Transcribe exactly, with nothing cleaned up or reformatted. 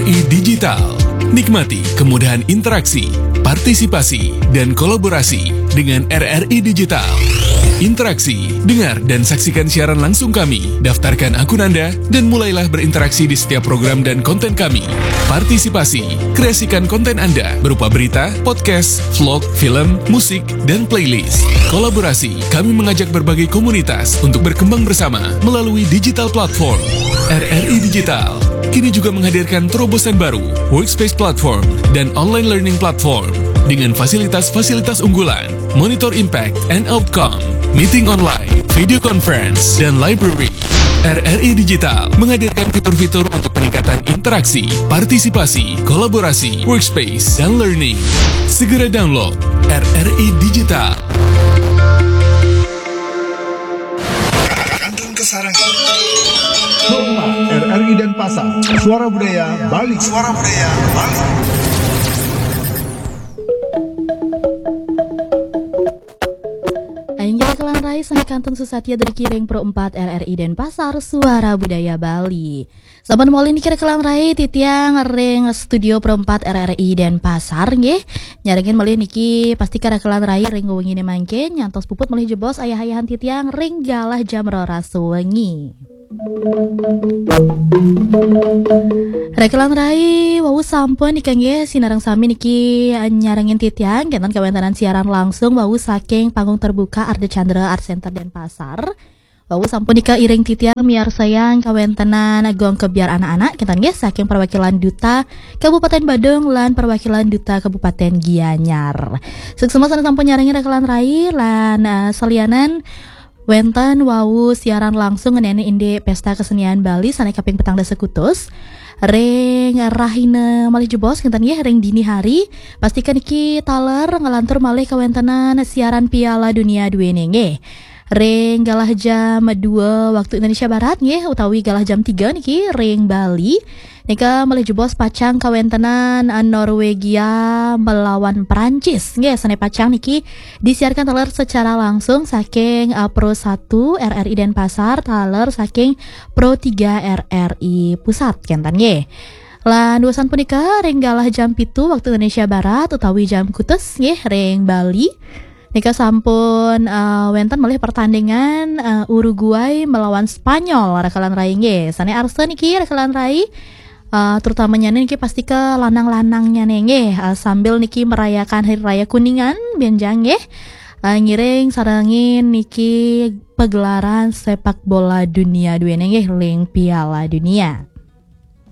Digital. Nikmati kemudahan interaksi, partisipasi, dan kolaborasi dengan R R I Digital. Interaksi, dengar, dan saksikan siaran langsung kami. Daftarkan akun Anda dan mulailah berinteraksi di setiap program dan konten kami. Partisipasi, kreasikan konten Anda berupa berita, podcast, vlog, film, musik, dan playlist. Kolaborasi, kami mengajak berbagai komunitas untuk berkembang bersama melalui digital platform. R R I Digital kini juga menghadirkan terobosan baru, Workspace Platform dan Online Learning Platform dengan fasilitas-fasilitas unggulan, Monitor Impact and Outcome, Meeting Online, Video Conference, dan Library. R R I Digital menghadirkan fitur-fitur untuk peningkatan interaksi, partisipasi, kolaborasi, workspace, dan learning. Segera download R R I Digital. Kantun Kesarangan. Pro empat R R I Denpasar, Suara Budaya Bali. Suara Budaya Bali. Aing rekelan rai sami kantun susatya dari kiring Pro empat R R I Denpasar, Suara Budaya Bali. Saban malih niki rekelan rai titiang ring studio Pro empat R R I Denpasar nggih. Nyarengin malih niki pasti ka rekelan rai ring wengine mangkin nyantos puput malih jebos ayah-ayahan titiang ring galah jam roras wengi. Rekelan rai wau sampun nika nggih sinareng sami niki nyarengin titiang kenten kawentenan siaran langsung wau saking panggung terbuka Arda Chandra Art Center Denpasar. Wau sampun nika iring titiang miarsayang kawentenan gong kebyar anak-anak kenten nggih saking perwakilan duta Kabupaten Badung lan perwakilan duta Kabupaten Gianyar. Suksma sane sampun nyarengin rekelan rai lan uh, salianan wenten wau siaran langsung ngeneni indik Pesta Kesenian Bali sane kaping petang dasa kutus. Ring rahina malih jebos kenten nggih ring dini hari. Pastikan iki taler ngelantur malih kawentenan siaran Piala Dunia duene nggih. Ring galah jam dua waktu Indonesia Barat nggih utawi galah jam tiga niki ring Bali. Nika malih jebos pacang kawentenan Norwegia melawan Perancis nggih sane pacang niki disiarkan taler secara langsung saking uh, Pro satu R R I Denpasar taler saking Pro tiga R R I Pusat kenten nggih. Lan duasan punika ring galah jam pitu waktu Indonesia Barat utawi jam kutus nggih ring Bali. Nika sampun uh, wenten malih pertandingan uh, Uruguay melawan Spanyol rekelan rai nggih. Sane arsa niki rekelan rai uh, terutamanya niki pasti ke lanang-lanangnya nggih uh, sambil niki merayakan hari raya Kuningan benjang nggih. Uh, ngiring sarengin niki pegelaran sepak bola dunia duene nggih ring Piala Dunia.